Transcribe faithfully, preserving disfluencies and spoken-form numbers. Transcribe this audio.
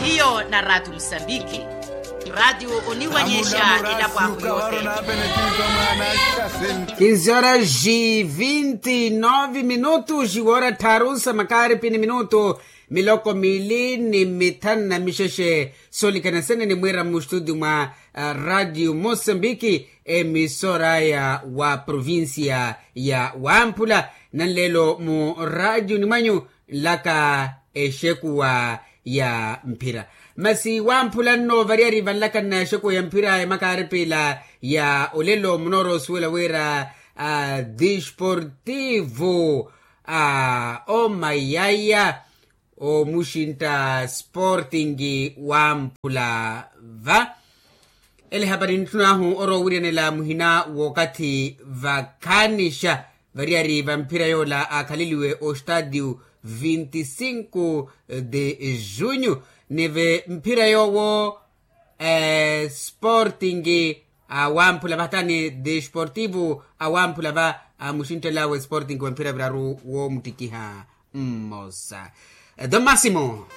Hiyo na ratu musambiki. Ratu oniwanyesha elapo ahu yote. Kinzora ji vinti novi minutu jiwora tharu sa makari pini minutu miloko mili ni mithanu na mixexe. Solikana sene ni mwira mu studio mwa radio mosambiki, emisora ya wa provincia ya wamphula. Nanlelo mu radio ni mwanyu nlaka exekuwa ya mphira. Masi wamphula nno variyari vanlaka nna exekuwa ya mphira ya makaaripila ya olelo munoorosuwela wira a desportivo a omayaya omuxintta sporting wamphula va. Ele hapari ntthun'ahu orowa owiriyanela muhina w'okathi vakhaanixa variyari va mphira yoola aakhaleliwe ostadio vinti cinco de junho. Neve mphira yoowo sporting awamphula va hatani desportivo awamphula va amuxinttel'awe sporting wa mphira viraru woomuttikiha mmosa. Don masimo.